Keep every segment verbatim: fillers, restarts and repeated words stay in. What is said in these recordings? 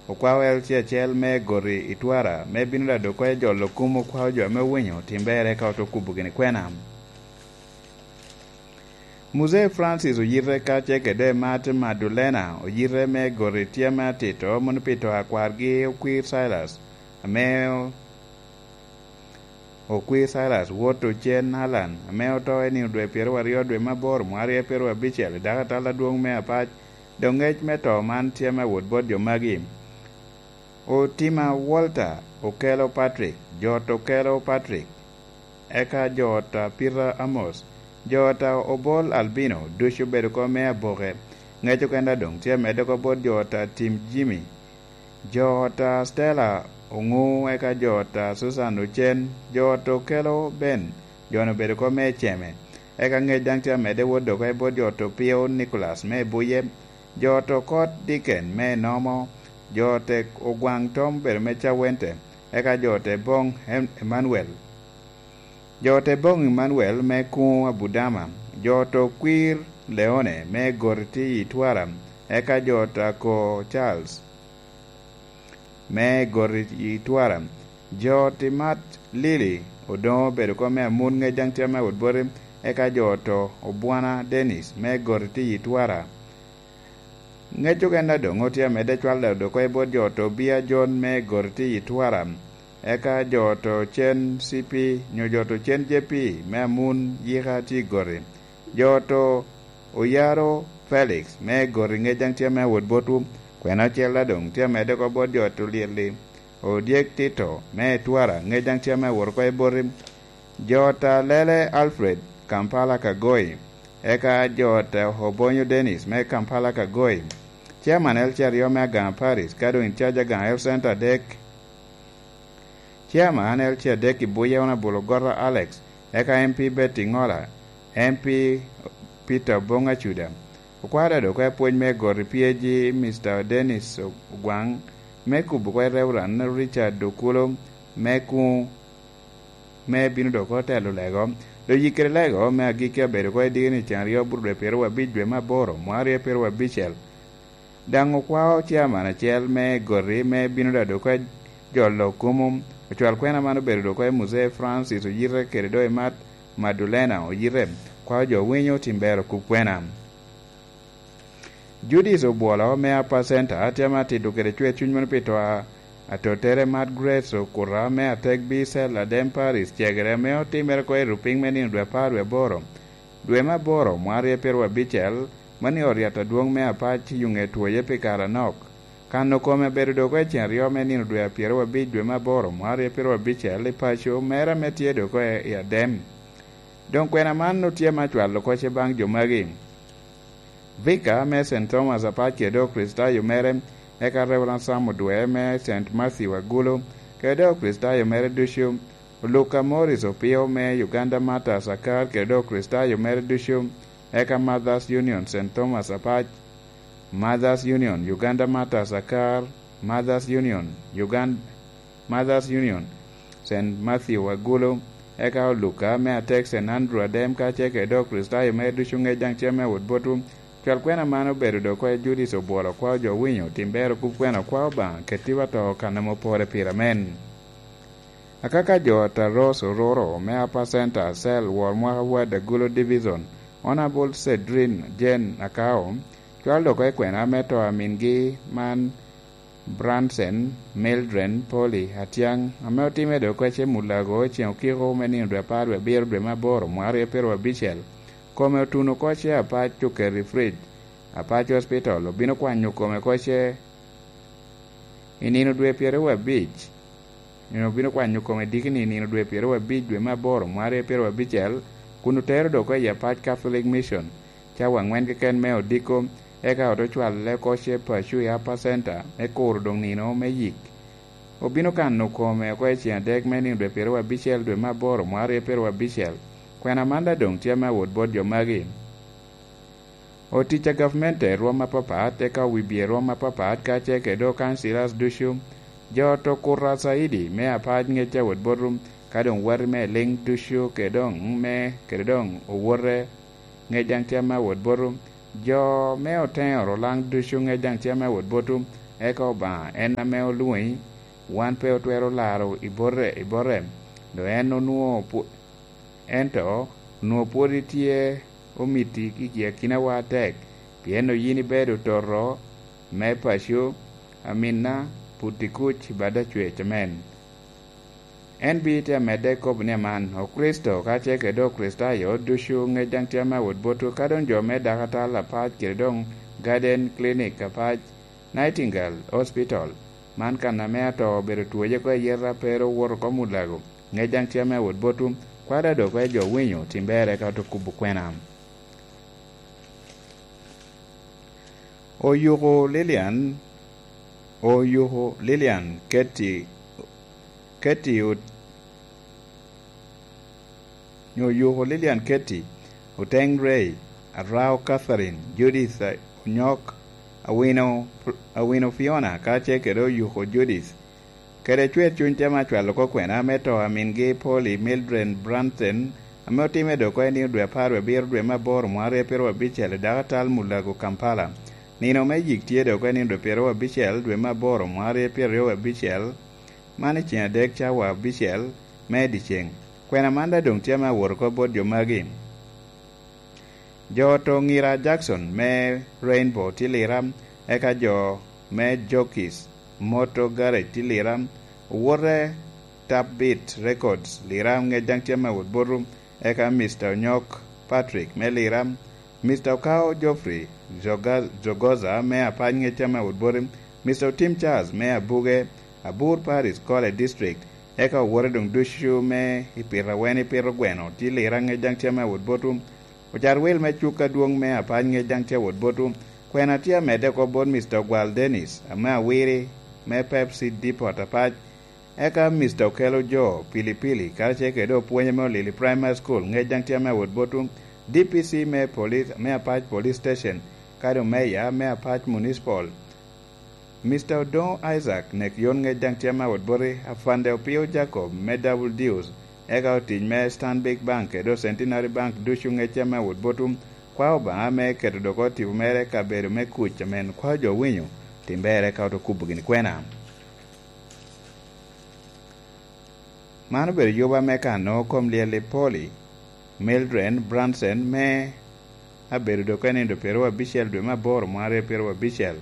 Okwao L C acel me goti i Twara me bino dado oko i jolo kum okwao jo ame owinyo tim ber eka ote kubo gini kwena. Muzee Francis oyite ka ce kede Martin Madulena oyite me goti tye ame atito mono pi to a kwargi okwir Silas ame okwir Silas wot ocen Alan ame oto i nino dwe pyeraryo dwe me aboro mwarie pyerabicel i dako atal adwong me apac. Doŋ ngec me to man tye me wot bot jo magi. Otima Walter okelo Patrick, jo ot okelo Patrick, eka jo ot a Peter Amos, jo ot a Obol Albino ducu obedo oko me aboke. Ngec okene doŋ tye amedde oko bot jo ot a Tim Jimmy, jo ot a Stella Oŋu, eka jo ot a Susan Ocen, jo ot okelo Ben, jo-nu obedo oko me Eceme. Eka ngec daŋ tye amedde wot dok i bot jo ot Opio Nicholas me Ebuye, jo ot Okot Dicken me Enomo, jo ot Ogwaŋ Tom obedo me Cawente, eka jo ot Eboŋ Em-, Emmanuel, jo ot Eboŋ Emmanuel me Kuŋo Abudama, jo ot Okwir Leone me Goti i Twara, eka jo ot Ako Charles me Goti i Twara, jo ot Imat Lili Odoŋo obedo oko me Amun, ngec daŋ tye me wot boti, eka jo ot Obwana Dennis me Goti i Twara. Ngec okene doŋ otye amedde cwal dado oko i bot jo ot Obia John me Goti i Twara, eka jo ot Ocen C P nyo jo ot Ocen J P me Amun yika tye i Goti, jo ot Oyaro Felix me Goti, ngec daŋ tye me wot botwu. Kwena ocel daŋ doŋ tye amedde oko bot jo ot Olyelli Odyek Tito me Twara, ngec daŋ tye me wot oko i boti. Jo ot Alele Alfred Kampala Kagoi, eka jo ot Obonyo Dennis me Kampala Kagoi. Chairman L C aryo me Aganga Parish, ka doŋ in charge Aganga Health Center adek. Chairman L C adek i Buye Honorable Ogota Alex, eka M P Betty Ngola, M P Peter Obong Acuda. Okwada dok oko apwony me Goti P A G Mister Dennis Ogwaŋ, me kubo oko Reverend Richard Okulo, me Kuŋo, me bino dok otelo lego. Doŋ yikere lego me agikki abedo oko i dikini cen aryo bur dwe pyeraryo abic dwe me aboro, mwarie pyeraryo abicel. Daŋ okwao chairman acel me Goti me bino dado oko jolo kumo. Ocwal kwena man obedo dok oko i Muzee Francis oyite kede doŋ Imat Madulena oyite. Kwao jo winyo tim ber okub kwena. Judith Obwolo me Upper Center tye ame atito kede cwer cuny mono pi to a atottere Margaret Okuta me Atek Bicel Adem Parish cegere ame otimere oko i rupiny me nino dwe apar dwe aboro, dwe me aboro mwarie pyeraryo abicel, mani ot yat adwong me Apac i Yuŋe twoye pi kare anok. Kano kome bedo dok oko i cen aryo me nino dwe apyeraryo abic dwe me aboro mwarie pyeraryo abicel i paco mere ame tye dok oko i Adem. Doŋ kwena man otye ame acwalo oko ce baŋ jo magi. Vicar me Saint Thomas Apac kede doŋ Okricitayo mere, eka Reverend Sam Odwe me Saint Matthew Agulu, kede doŋ Okricitayo mere ducu, Luka Morris Opio me Uganda Martyrs Akar kede doŋ Okricitayo mere ducu, eka Mothers Union Saint Thomas Apac, Mothers Union Uganda Martyrs Akar, Mothers Union Uganda, Mothers Union Saint Matthew Agulu, eka Oluka me Atek Saint Andrew Adem, kacel kede doŋ Okricitayo mere ducu ŋec daŋ tye me wot botwu. Cwal kwena man obedo dok oko i Judith Obwolo, kwao jo winyo tim ber okub kwena, kwao Obaŋa ketiwa to kan ame opore pire. Amen. Akaka jo ot a Rose Ororo me Upper Center Cell, wor mwaka Ward Agulu Division, Honorable Cedrine Jane Akao, cwalo dok oko i kwena me to a mingi man Branson Mildred Polly Atiang, ame otimme dok oko ce Mulago i ceŋ okiko me nino dwe apar dwe abiro dwe me aboro mwaka aryo pyeraryo abicel. Kome otuno oko ce Apac oketo i fridge, Apac Hospital obino kwanyo kome oko ce i nino dwe pyeraryo abic. Nino obino kwanyo kome dikini i nino dwe pyeraryo abic dwe me aboro mwaka aryo pyeraryo abicel, kun otero dok oko i Apac Catholic Mission cawa aŋwen keken me odiko, eka ote cwale oko ce paco i Upper Center me kuro doŋ nino me yik. Obino kano kome oko i ceŋ adek me nino dwe pyeraryo abicel dwe me aboro mwaka aryo pyeraryo abicel. Kwena man daŋ doŋ tye me awot bot jo magi. Otic a gavmente rwom apapat, eka owibye rwom apapat, kacel kede doŋ councillors ducu, jo ot Okuta Saidi me Apac ŋec awot botwu, ka doŋ wati me Liŋ ducu, kede doŋ me, kede doŋ owote ŋec daŋ tye me awot botwu, jo me Oteŋo Rolaŋ ducu ŋec daŋ tye me awot botwu, Eka Obaŋa en ame olwoŋi, wan pe otwero laro i bote, i bote, dok en onwoŋo pwo-, ento onwoŋo pwod itye omiti i akinawa atek, pien yin ibedo toto me paco, aminna, puti kuc i bad acwec amen. En bite amedde kobo ni aman, Okricito kacel kede Okricitayo ducu ŋec daŋ tye ame awot botwu, ka doŋ jo me dakatal apac kede doŋ Garden Clinic apac, Nightingale Hospital, man kan ame ato obedo twoce oko i yeta pe ru owoto oko Mulago, ŋec daŋ tye ame awot botwu, kwada dok oko i jo winyo tim berre ka oto kubo kwena. Oyuko Lilian, oyuko Lilian Keti, Keti ot-, nyo oyuko Lilian Keti, Oteng Ray, Arao Catherine, Judith, eh, Onyok, Awino, Awino Fiona, kacel kede oyuko Judith. Kede cwer cuny tye ame acwalo oko kwena me to a mingi Polly Mildred Brunson, ame otimme dok oko i nino dwe apar wie abiro dwe me aboro mwaka aryo pyeraryo abicel i dako atal Mulago, Kampala. Nino me yik tye dok oko i nino dwe pyeraryo abicel dwe me aboro mwaka aryo pyeraryo abicel, man i ceng adek cawa abicel me dyeceŋ. Kwena man daŋ doŋ tye ame awot oko bot jo magi. Jo oto Ngira Jackson me Rainbow tye Lira, eka jo me Jokis Moto Garage tye Lira, owote Tap Beat Records Lira ŋec daŋ tye ame awot botwu, eka Mister Onyok Patrick me Lira, Mister Okao Geoffrey Joga-, Jogoza me Apac ŋec tye ame awot botwu, Mister Otim Charles me Abuge, Abur Paris College District, eka owote doŋ ducu me i pito awen i pito gweno tye Lira ŋec daŋ tye ame awot botwu, Ocar wil me cuk adwoŋ me Apac ŋec daŋ tye awot botwu. Kwena tye amedde oko bot Mister Ogwal Dennis, ame Awiri, me Pepsi Depot Apac, eka Mister Okelo Jo Pilipili, karacel kede opwonye me Olili Primary School, ŋec daŋ tye ame awot botwu. D P C me Police, me Apac Police Station, kadi Omeya me Apac Municipal, Mister Odoŋo Isaac, nek yon ŋec daŋ tye ame awot boti, Afande Opio Jacob me Double Deals, eka otic me Stanbic Bank kede Centenary Bank ducu ŋec tye ame awot botwu. Kwa Obaŋa me keto dok oko tipo mere i kabedo me kuc amen kwa jo winyo, tim berre ka oto kubo gini kwena. Man obedo yuba me kano kom lyel i Polly Mildred Brunson me abedo dok enindo pyeraryo abicel dwe me aboro mwaka aryo pyeraryo abicel.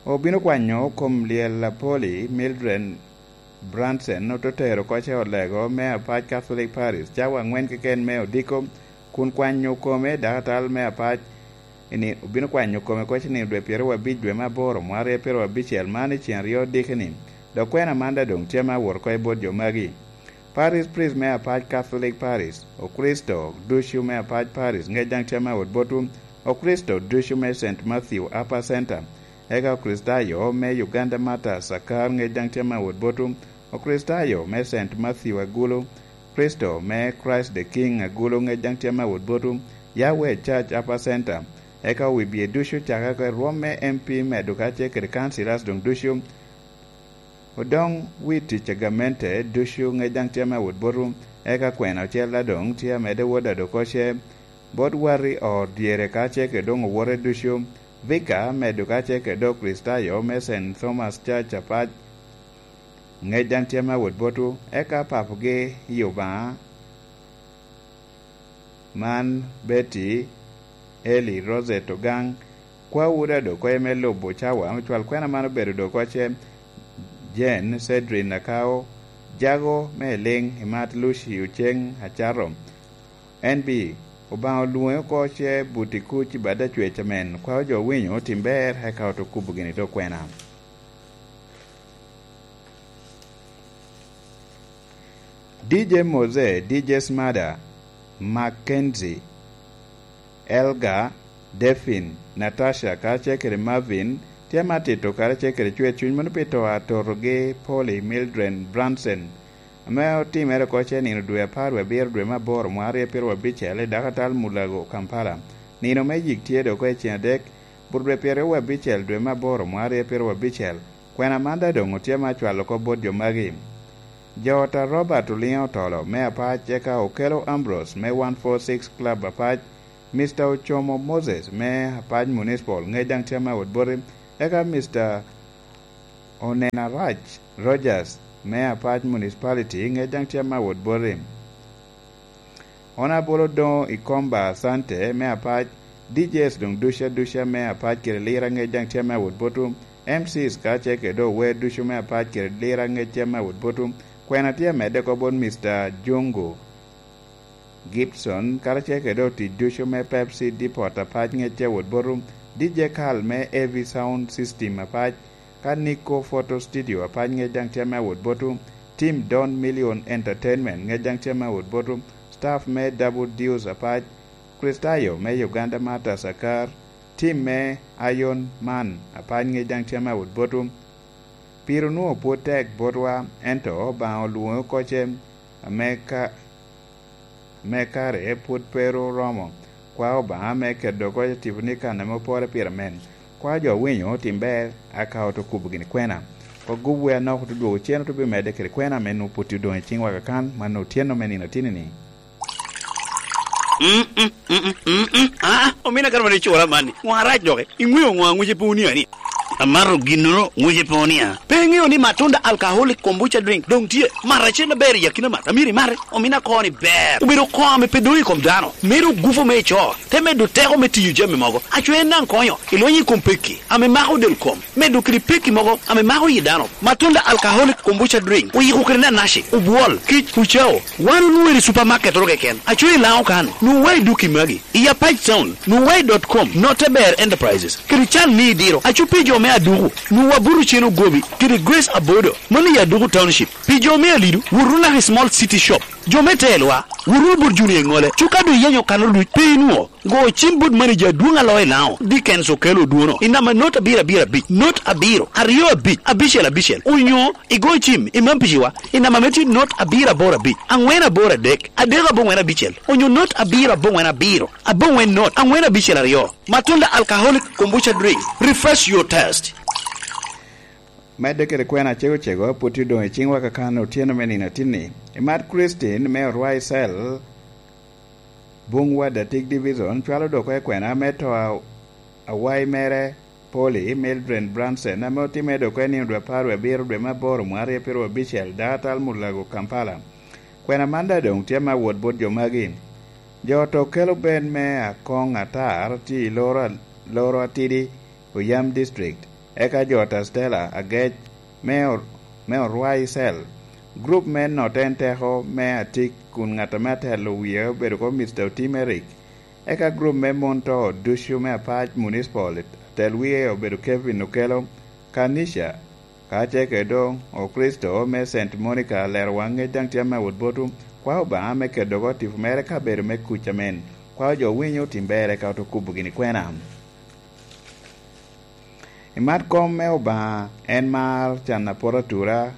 Obino kwanyo kom lyel a Polly Mildred Brunson, ote tero oko i ot lego me Apac Catholic Parish, cawa aŋwen keken me odiko, kun kwanyo kome dakatal me Apac, ini obino kwanyo kome oko i nino dwe pyeraryo abic dwe me aboro mwaka aryo pyeraryo abicel, man i ceng aryo odiki-ni. Dok kwena man daŋ doŋ tye ame awot oko i bot jo magi. Parish priest me Apac Catholic Parish, Okricito ducu me Apac Parish, ŋec daŋ tye ame awot botwu, Okricito ducu me Saint Matthew Upper Center, eka Okricitayo me Uganda Martyrs Akar, ŋec daŋ tye ame awot botwu, Okricitayo me Saint Matthew Agulu, Kricito me Christ the King Agulu, ŋec daŋ tye ame awot botwu, Yahweh Church Upper Center, eka wi bye ducu cakere oko i rwom me M P medo kacel kede councillors doŋ ducu, Odoŋ wi tic a gamente ducu ŋec daŋ tye ame awot botwu, eka kwena ocel daŋ doŋ tye amedde wot a dok oko ce bot wati ot dyere kacel kede doŋ owote ducu, Vika medo kacel kede Okricitayo me Saint Thomas Church Apac, ŋec daŋ tye ame awot botwu, eka papogi i Obaŋa. Man Betty, Eli, Rosette Ogang, kwawu daŋ dok okoye me lubo cawa, me cwal kwena man obedo dok oko ce, Jane, Cedrin Akao, Jago me Eliŋ, Imat Lucy Oceng Acato, N B, Obaŋa olwoŋe oko ce buti kuc i bad acwec amen, kwawu jo winyo otim ber, eka oto kubo gini dok kwena. D J Mose, D J Smada, Mackenzie, Elga, Defin, Natasha, karacel kede Marvin, tye ame atito karacel kede cwer cuny mono pi to a totogi Polly Mildred Brunson, ame otimere oko ce nino dwe apar wie abiro dwe me aboro mwaka aryo pyeraryo abicel i dakatal Mulago, Kampala. Nino me yik tye dok oko i ceng adek, but dwe pyeraryo wie abicel dwe me aboro mwaka aryo pyeraryo abicel. Kwena man daŋ doŋ otye ame acwalo oko bot jo magi. Jo ot a Robert Oliŋo Otolo me Apac, eka Okelo Ambrose me one four six Club Apac, Mister Ocomo Moses me Apac Municipal, ŋec daŋ tye ame awot boti, eka Mister Onena Raj Rogers me Apac Municipality ŋec daŋ tye ame awot boti. Onabolo Doŋo Ikomba Asante me Apac, D Js doŋ duca duca me Apac kede Lira ŋec daŋ tye ame awot boti. M Cs ka ce kede ower ducu me Apac kede Lira ŋec tye ame awot boti. Kwena tye amedde oko bot Mister Jungu Gibson karacel kede otic ducu me Pepsi Depot Apac ŋec tye awot boti. D J Carl me A V Sound System Apac, ka Nico Photo Studio Apac ŋec daŋ tye ame awot boti. Tim Don Million Entertainment ŋec daŋ tye ame awot boti. Staff me Double Deuce Apac, Kristayo me Uganda Martyrs Akar, tim me Iron Man Apac ŋec daŋ tye ame awot boti. Pire onwoŋo pwod tek botwa, ento Obaŋa olwoŋe oko ce ame ka, ame kare pwod pe ru oromo. Kwa Obaŋa me keto oko tipo ni kan ame opore pire men. Kwa jo winyo otim ber, aka oto kubo gini kwena. Kwa gub we anok oto dwogo cen oto bi medde kede kwena me nwoŋo pwod odoŋ i ciŋwa kakan, man otyeno me nino atini-ni. Mm, mm, mm, mm, mm, mm. Ah, omina kara mani cura mani. Ŋo arac doki? Iŋweo ŋo aŋuce pe onia ni? Amato ginnoro ŋuce pe onia. Pe iŋeo ni Matunda Alcoholic Kombucha Drink doŋ tye? Mat acel aber i akina mat. Amyero imate. Omina koni ber. Obedo koo ame pe doŋ i kom dano. Medo gufu me ico. Te medo teko me tiyo jami mogo. Aco en daŋ konyo. Ilonyo i kom pekki ame mako del kom. Medo kede pekki mogo ame mako yi dano. Matunda Alcoholic Kombucha Drink. Oyiko kede nanaci, obwol, kic, ucao. Wan onwoŋo i supermarket oro keken. Aco i Laŋo kan. Nwoŋo wa i duki magi. I Apac Town, nwoŋo wa i dot com, Note Ber Enterprises, kede can ni idiro. Aco pi jo me Aduku, nwoŋo wa buto cen ogobi, kede Grace Abodo, mano i Aduku Township. Pi jo me Alido, wot Runaki Small City Shop. Jo me Telwa, wot wunu bot Junior Iŋole. Cuka doŋ iyenyo kano duc, pe inwoŋo. Go cim bot manager adwoŋ alo i Laŋo, Dickens Okello Odwono, i namba not abiro abiro abic, not abiro, aryo abic, abicel abicel, onyo igo cim i Mampiciwa, i namba me tye not abiro aboro abic, aŋwen aboro adek, adek aboŋwen abicel, onyo not abiro aboŋwen abiro, aboŋwen not, aŋwen abicel aryo. Matunda Alcoholic Kombucha Drink, refresh your taste. Medde kede kwena cego cego, pwod tye doŋ i ciŋwa kakan otyeno me nino atinni. Imat Christine me Orwai Cell, Bung Wadatik Division, cwalo dok oko i kwena me to a-, awayi mere, Polly Mildred Branson, ame otimme dok oko i nino dwe apar wie abiro dwe me aboro mwaka aryo pyeraryo abicel, dakatal Mulago, Kampala. Kwena man daŋ doŋ tye me awot bot jo magi. Jo to kelo ben me akoŋ atar tye i loro, loro atidi, Oyam District, eka jo ta Stella Agec me Or-, me Orwai Cell. Grup me Note en teko me atik kun ŋat ame atelo wie obedo ko Mister Otim Eric. Eka grup me mon to ducu me Apac Municipal, atel wie obedo Kevin Okello, Kanisha, ka ce kede doŋ Okricito me Saint Monica lero waŋ ŋec daŋ tye ame awot botu, kwao Obaŋa me kedo oko tipo mere ka bedo me kuc amen. Kwao jo winyo otim ber eka oto kubo gini kwena. I mat kom me Obaŋa en mar can apot atura,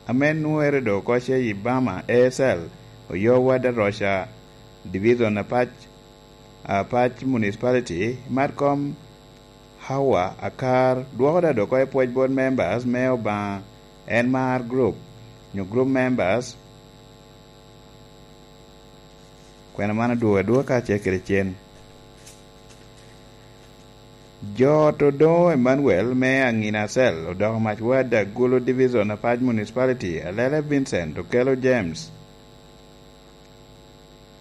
ame nwere do oko ce i Bama, A S L, Oyowa, Daroca, Division Apac, Apac Municipality, i mat kom Hawa Akar, dwoko da do oko i pwoc bot members me Obaŋa en mar group, nyo group members, kwena man odwogo adwoga ka ce kede cen. Jo to doŋo Emmanuel me Aŋina Cell, odoko mac wad Agulu Division Apac Municipality, Alele Vincent, Okello James,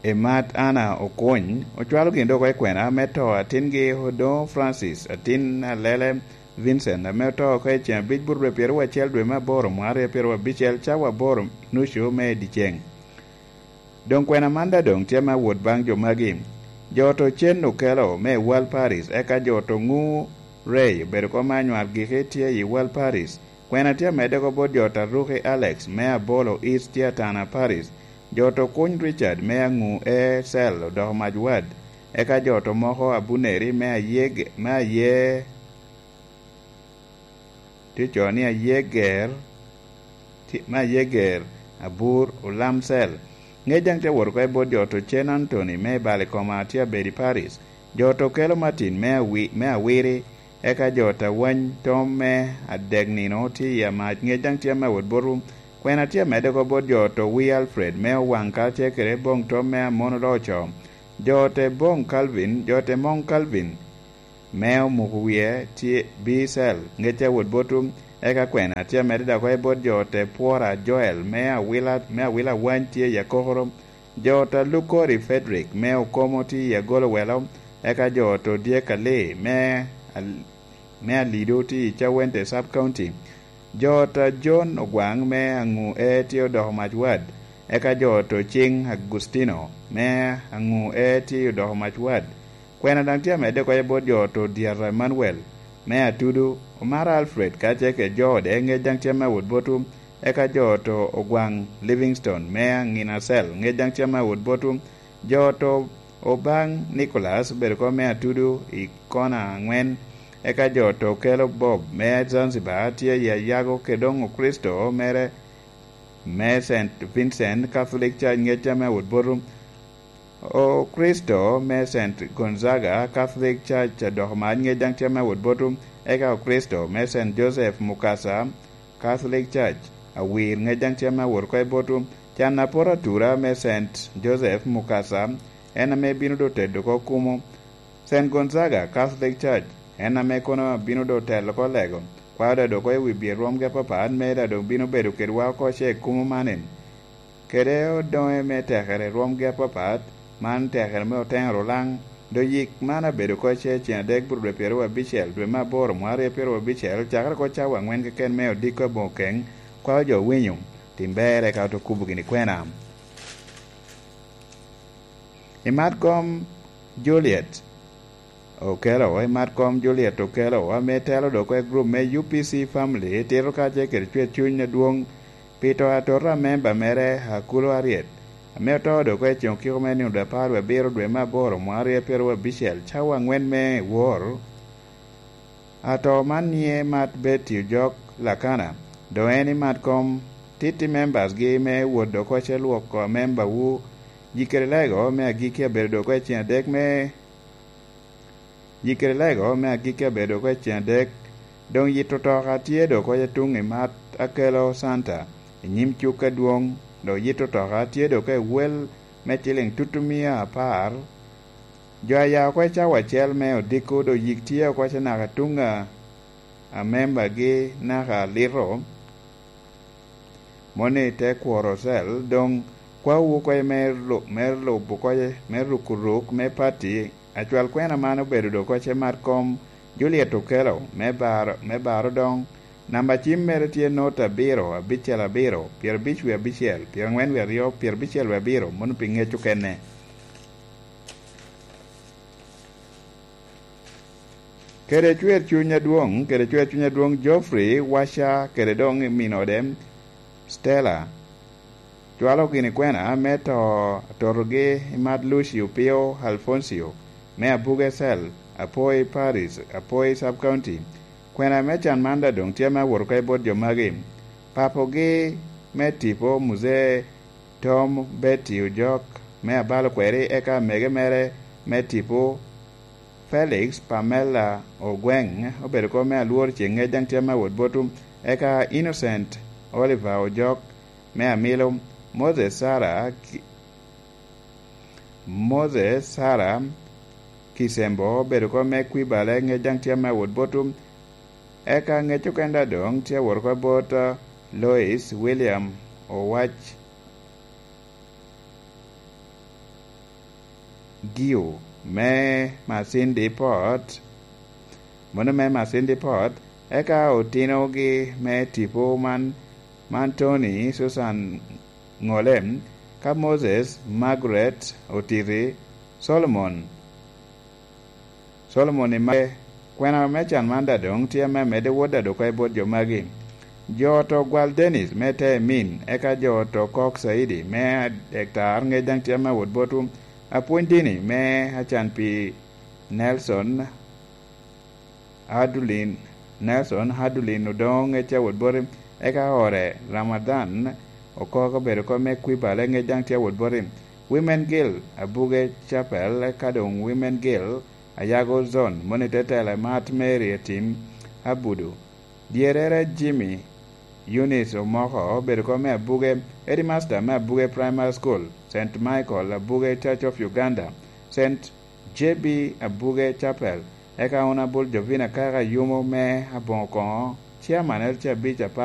Emat Anna Okuny, ocwalo gin dok oko i kwena me to atingi Odoŋo Francis, atin Alele Vincent, ame oto oko i ceŋ abic but dwe pyeraryo acel dwe me aboro mwaka aryo pyeraryo abicel, cawa aboro nucu me dyeceŋ. Doŋ kwena man daŋ doŋ tye me awot baŋ jo magi. Jo to cen Okello me Wal Paris, eka jo to ŋu Ray obedo kom me anywar giki tye i Wal Paris. Kwena tye amedde oko bot jo ta Ruki Alex me Abolo East tye Atana Paris. Jo to kuny Richard me Aŋu A Cell odoko mac wad. Eka jo to moko Abuneri me Ayeg-, me Aye Tye co ni Ayeger, tye, me Ayeger, Abur, Olam Cell. Ŋec daŋ tye wot oko i bot jo to cen Anthony me Balikoma tye abedi Paris. Jo to kelo Martin me awi-, me Awiri, eka jo ta Wany Tom me Adek Nino tye i Amac. Ŋec daŋ tye me wot botu. Kwena tye amedde oko bot jo to wi Alfred me Owaŋ karacel kede Boŋ Tom me Amon Oloco. Jo te Boŋ Calvin, jo te Moŋ Calvin, me omuko wie tye B Cell, ŋec a wot botu, Eka kwena tye amedde dok oko i bot jo te Pwora Joel me Awila, me Awila Wany tye i Akokoro, jo ta Lukori Frederick me Okomo tye i Agolo Welo, eka jo ta Odyek Ali me Al-, me Alido tye i Cawente Sub County. Jo ta John Ogwaŋ me Aŋu E tye odoko mac wad, eka jo ta Ociŋ Agustino me Aŋu E tye odoko mac wad. Kwena daŋ tye amedde oko i bot jo ta Odyata Emmanuel me Atudu, Omara Alfred kacel kede jo ode, ŋec daŋ tye ame awot botwu, eka jo ta Ogwaŋ Livingstone me Aŋina Cell, ŋec daŋ tye ame awot botwu, jo ta Obaŋ Nicholas obedo oko me Atudu i kona aŋwen, eka jo ta Okello Bob me Zanzibar tye i Ayago, kede doŋ Okricito mere me Saint Vincent Catholic Church, ŋec tye ame awot botwu. Okricito me Saint Gonzaga Catholic Church adoko mac, ŋec daŋ tye ame awot botwu, eka Okricito me Saint Joseph Mukasa Catholic Church Awir, ŋec daŋ tye ame awot oko i botwu. Can apot atura me Saint Joseph Mukasa, en ame bino doŋ tedo oko kumo. Saint Gonzaga Catholic Church, en ame kono bino doŋ telo oko lego, kwao daŋ doŋ oko i wi byer rwomgi apapat, me daŋ doŋ bino bedo kedwa oko ce kumo manin. Kede odoŋe me tekere rwomgi apapat, man tekere me oteŋo Rulaŋ, doŋ yik man abedo oko ce cen adek bur dwe pyeraryo abicel, dwe me aboro, mwaka aryo pyeraryo abicel, cakere oko cawa aŋwen keken me odiko aboŋo keŋ, kwao jo winyo, tim ber eka oto kubo gini kwena. I mat kom Juliet Okello, i mat kom Juliet Okello, ame telo doŋ oko i grup me U P C Family, tito kacel kede cwer cuny adwoŋ pi to atota a memba mere Akulo Aryet, ame oto doŋ oko i coŋ kiko me nino dwe apar wie abiro dwe me aboro mwaka aryo pyeraryo abicel, cawa aŋwen me wor. Ato man nie mat Betty Ojok Lakana, doŋ en i mat kom titi members gi me wot doŋ oko ce lwoko amemba wu. Jikere lego me agikki abedo doŋ oko i cen adek me, jikere lego me agikki abedo doŋ oko i cen adek. Doŋ yito toka tye doŋ oko i tuŋ i mat Akelo Santa i nyim cuk adwoŋ, doŋ yito toka tye doŋ oko i wel me ciliŋ tutumia apar. Jo a ya oko i cawa acel me odiko doŋ yik tye oko ce naka tuŋ a, a membagi naka alito. Moni te kworo cel, doŋ kwawu oko me lu-, me lubo oko, me ruko ruk me pati, acwal kwena man obedo doŋ oko ce mat kom Juliet Okello me baro, me baro doŋ. Namba cim mere tye not abiro, abicel abiro, pyerabic wie abicel, pyeraŋwen wie aryo, pyerabicel wie abiro, mano pi ŋec okene. Kede cwer cuny adwoŋ, kede cwer cuny adwoŋ Geoffrey Wacha kede doŋ i min ode Stella, cwalo gini kwena me to atotogi i mat Lucio Pio Alfoncio, me Abuge Cell, Apoi Parish, Apoi Sub County. Kwena me can man daŋ doŋ tye me awot oko i bot jo magi. Papogi me tipo, Muzee Tom Betty Ojok me Abalo Kweri, eka amege mere me tipo, Felix Pamela Ogweng, obedo oko me Alwor Ceŋ, ŋec daŋ tye me awot botwu, eka Innocent Oliver Ojok me Amilo, Moses Sarah Ki-, Moses Sarah Kisembo, obedo oko me Kwibale, ŋec daŋ tye me awot botwu, eka ŋec okene daŋ doŋ tye awot oko bot, uh, Lois William Owac Giu me Masindi Port, mano me Masindi Port, eka otinogi me tipo man, man Tony Susan Ŋole, ka Moses, Margaret Otiti, Solomon, Solomon i mage. Kwena me can man daŋ doŋ tye ame amedde wot daŋ doŋ oko i bot jo magi. Jo to Gwal Dennis me Teemin, eka jo to Kok Saidi me Adektar, ŋec daŋ tye ame awot botwu. Apwony dini me Acan pi Nelson Adulin, Nelson Adulin Odongo, ŋec tye awot boti, eka ore Ramadan Okok, obedo oko me Kwibale, ŋec daŋ tye awot boti. Women Guild Abuge Chapel, eka doŋ Women Guild Ayago Zone, moni te tela i mat Mary Etim Abudu. Dyerere Jimmy Eunice Omoko, obedo oko me Abuge, Headmaster me Abuge Primary School, Saint Michael Abuge Church of Uganda, Saint J B Abuge Chapel, eka Honorable Jovina Kaka Yumo me Aboŋo Koŋo Chairman L C abic apar